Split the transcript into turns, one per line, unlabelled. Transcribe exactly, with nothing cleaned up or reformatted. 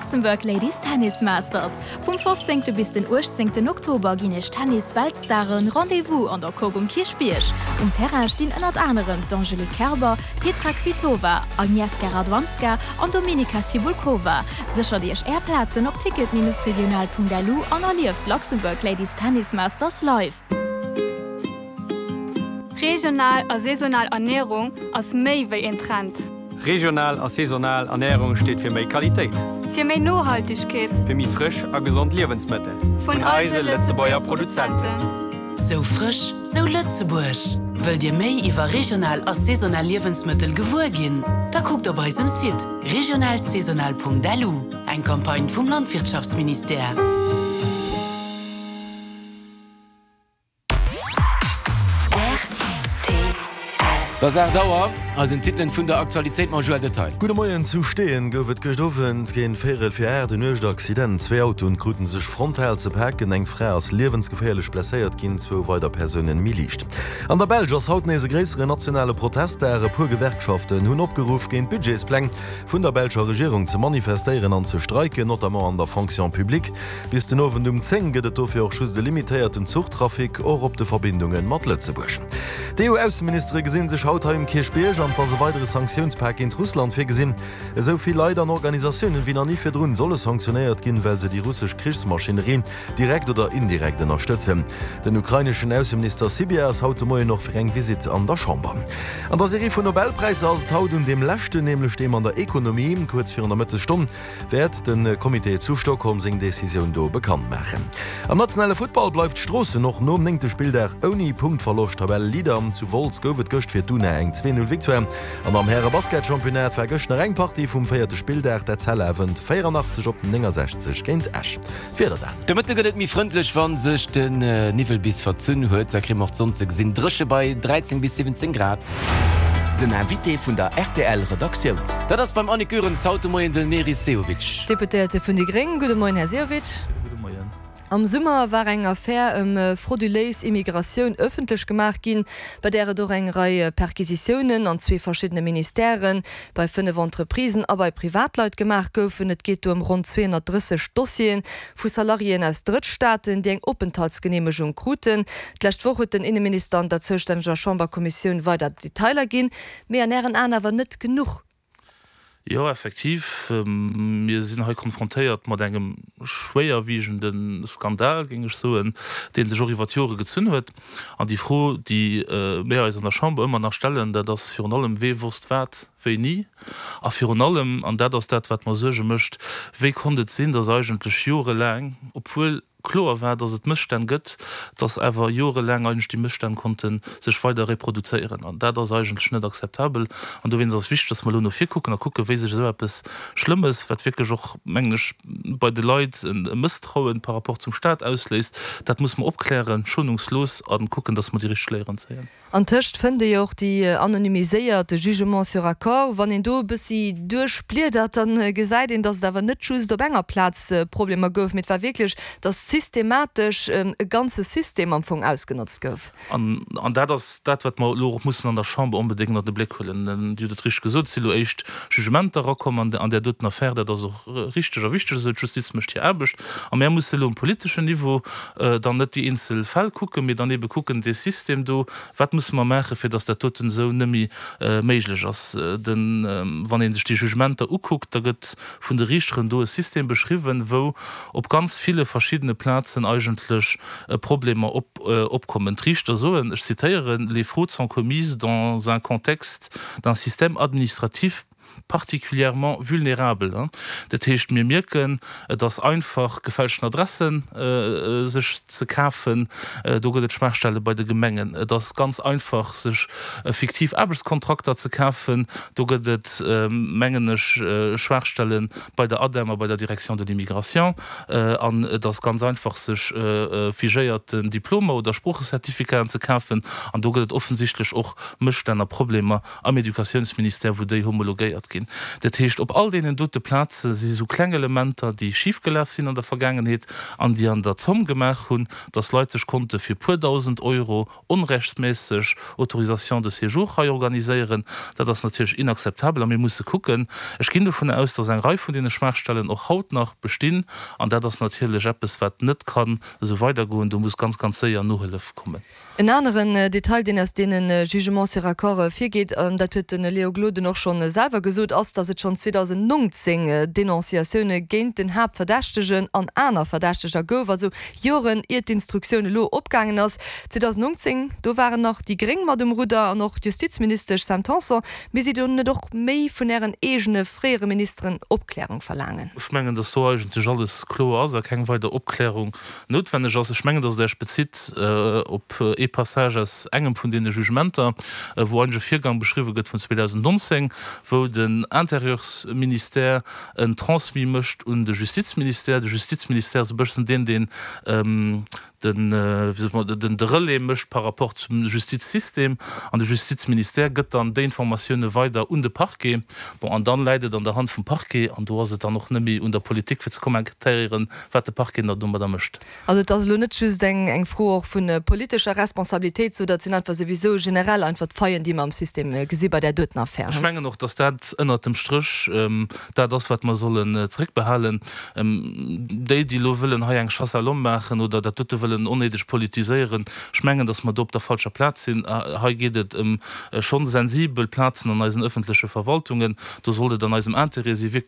Luxembourg Ladies Tennis Masters. Vum fofzéngte bis den uechtzéngten Oktober ginn iech Tennis-Weltstaren Rendez-vous an der Coque um Kierchbierg. Um Terrain stinn ënnert anerem d'Angelique Kerber, Petra Kvitova, Agnieszka Radwanska an Dominika Cibulkova. Séchert iech är Plazen op ticket-regional.lu an erlieft d'Luxembourg Ladies Tennis Masters live.
Regional a saisonal Ernärung ass méi wéi en Trend.
Regional a saisonal Ernärung steet fir méi Qualitéit.
Fir méi Nohaltegkeet.
Fir méi frësch a gesond Liewensmëttel.
Vun eise Lëtzebuerger Produzenten.
Sou frësch, sou Lëtzebuerg! Wëllt Dir méi iwwer regional a saisonal Liewensmëttel gewuer ginn? Da kuckt op eisem Site regionalsaisonal.lu. Eng Campagne vum Landwirtschaftsministère.
Et ass aacht Auer, eisen Titelen vun der Aktualitéit mam Joël Detail.
Gudde Moien, Zu Steeën gouf et gëscht Owend géint véierel fir aacht en uergt Accident. Zwee Autoen kruten sech frontal ze paken, eng Fra ass liewensgeféierlech blesséiert ginn, zwou weider Persounen méi liicht. An der Belsch ass haut nees e gréisseren nationale Protestdag. E puer Gewerkschaften hunn opgeruff, géint d'Budgetspläng vun der belscher Regierung ze manifestéieren an ze streiken, notamment an der Fonction publique. Bis den Owend um zéng gëtt et dofir och just e limitéierten Zuchtrafic, och op de Verbindunge mat Lëtzebuerg. D'EU-Ausseministere gesinn sech haut hei um Kierchbierg an et ass e weidere Sanktiounspak géint Russland virgesinn. Esou vill Leit an Organisatiounen wéi nach ni virdrun solle sanktionéiert ginn, well se déi russesch Krichsmaschinerie direkt oder indirekt ënnerstëtzen. Den ukraineschen Ausseminister Sybiha ass haut de Moien och fir eng Visitt an der Chamber. An der Serie vun Nobelpräisser ass et haut un deem leschten, nämlech deem an der Ekonomie. Kuerz virun der Mëttesstonn wäert de Comité zu Stockholm seng Decisioun do bekannt maachen. Am nationale Futtball bleift Stroossen och nom néngte Spilldag ouni Punktverloscht Tabelleleader. Zu Wolz gouf et gëscht fir d'Una eng zwee Null Victoire. An am Häre-Basketchampionnat war gëscht nach eng Partie vum véierte Spilldag, d'Etzella wënnt véierannachtzeg op néngensechzeg géint Esch. D'Wieder dann.
De Mëtte gëtt et méi frëndlech, wa sech den Niwwel bis verzunn huet. Da kréie mer och d'Sonn ze gesinn. Dréche bei dräizéng bis siwwenzéng Grad.
Den Invité vun der rtl Redaktioun.
Dat ass beim Annick Goerens haut de Moien den Meris Sehovic.
Deputéierte vun déi Gréng. Gudde Moien, Här Sehovic.
Gudde Moien.
Am Summer war eng Affär ëm frauduléis Immigratioun ëffentlech gemaach ginn, bei där et och eng Rei Perquisitiounen an zwee verschiddene Ministèren, bei fënnef Entreprisen a bei Privatleit gemaach goufen. Et geet do ëm ronn zweehonnertdrësseg Dossiere vu Salariéen aus Drëttstaaten, déi eng Openthaltsgeneemegung kruten. D'lescht Woch huet den Inneminister an der zoustänneger Chamberkommissioun weider Detailer ginn, mee an Ären Aen awer net genuch.
Jo, effektiv, mir sinn hei konfrontéiert mat engem schwéierwiegende Skandal, géing ech soen, dee sech och iwwer d'Jore gezunn huet. An déi Fro, déi mir eis an der Chamber ëmmer nach stellen, dat ass virun allem, Wee wosst wat wéini? A virun allem, an dat ass dat, wat mer Suerge mécht, Wéi konnt et sinn, dass eigentlech jorelaang, obwuel kloer war, dass et Mësstänn gëtt, dass awer jorelaang eigentlech déi Mësstänn konnte sech weider reproduzéieren. An dat ass eigentlech net akzeptabel. An dowéinst ass wichteg, dass mer elo no vir kucken a kucken, wéi sech esou eppes Schlëmmes, wat wierklech och, mengen ech, bei de Leit e Mësstrauen par rapport zum Stat ausléist, dat muss mer opklären, schonungslos, a kucken, dass mer déi richteg Léieren zéien.
Antëscht fënnt ee jo och déi anonymiséiert Jugements sur accord. Wann een do e bëssi duerchbliedert, da gesäit een, datt et awer net just op enger Plaz Problemer gouf, mee et war wierklech, datt systematesch e ganze System am Fong ausgenotzt gouf.
An, an dat ass dat, wat mer elo och mussen an der Chamber onbedéngt ënnert de Bléck huelen. Dir hutt et richteg gesot, et si elo éischt Jugementer erakomm an, an där doten Affär. Dat ass och richteg a wichteg esou. D'Justiz mécht hir Aarbecht. A mär musse elo um politeschen Niveau dann net déi eenzel Fäll kucken, mee dann ebe kucken, dee System do, wat musse mer maachen, fir datt dat doten esou net méi méiglech ass. Den, wann ee sech déi Jugementer ukuckt, da gëtt vun de Riichteren do e System beschriwwen, wou op ganz ville verschiddene Plazen eigentlech Problemer op, opkommen. D'Riichter soen, ech zitéieren, Les fraudes sont commises dans un contexte d'un système administratif particulièrement vulnérable. Dat heescht, mir mierken, et ass einfach, gefälschten Adressen sech ze kafen. Do gëtt et Schwaachstelle bei de Gemengen. Et ass ganz einfach, sech fiktiv Aarbechtskontrakter ze kafen. Do gëtt et, mengen ech, Schwaachstelle bei der ADEM a bei der Direction de l'immigration. An et ass ganz einfach, sech figéierten Diplomer oder Sproochecertificaten ze kafen. An do gëtt et offensichtlech och Mësstänn a Problemer am Educatiounsministère, wou déi homologéiert kontrolléiert ginn. Dat heescht, op all deenen dote Plaze si sou kleng Elementer, déi schifgelaf sinn an der Vergaangenheet an déi an der Zomm gemaach hunn, dass Leit sech konnte fir puer dausend Euro onrechtsméisseg Autorisation de séjour hei organiséieren. Dat ass natierlech inakzeptabel a mir musse kucken. Ech ginn dovun aus, dass eng Rei vun deene Schwaachstellen och haut nach bestinn an dat ass natierlech eppes, wat net kann esou weidergoen. Do muss ganz, ganz séier Nohëllef kommen.
En aneren Detail, deen aus deene Jugements sur accord ervirgeet, an dat huet de Léo Gloden och schonn selwer gesot, ass, datt et schonn zweedausendnongzéng Denonciatioune géint den Haaptverdächtegen an aner Verdächteger gouf, also Joren iert d'Instruktioun elo opgaangen ass. zweedausendnongzéng, do waren nach déi Gréng mat um Rudder an och d'Justizministesch Sam Tanson. Misst Dir do net och méi vun Ären eegene fréiere Ministeren Opklärung verlaangen?
Ech mengen, datt do eigentlech alles kloer ass a keng weider Opklärung noutwenneg ass. Ech mengen, datt Der Iech bezitt op ee Passage aus engem vun deene Jugementer, wou eigentlech e Virgang beschriwwe gëtt vun zweedausendnonzéng, wou den Intérieursministère en Transmis mécht un de Justizministère. De Justizministère ass e bëssen deen, deen den, wéi soe mer, den de Relais mécht par rapport zum Justizsystem an de Justizministère gëtt dann déi Informatioune weider un de Parquet. Bon, an dann läit et an der Hand vum Parquet an do ass et dann och net méi un der Politik fir ze kommentéieren, wat de Parquet da domadder mécht.
Also et ass elo net just eng eng Fro och vu politescher Responsabilitéit, sou dat sinn einfach souwisou generell einfach d'Faillen, déi mer am System gesi bei där doten Affär.
Ech mengen och, datt dat ënnert dem Stréch dat ass, wat mer sollen zréckbehalen. Déi, déi elo wëllen hei eng Chasse à l'homme maachen oder dat dote wëllen onnéideg politiséieren, ech mengen, datt mer do op der falscher Plaz sinn. Hei geet et ëm schonn sensibel Plazen an eisen ëffentleche Verwaltungen. Do sollt et an eisem Interêt si wierklech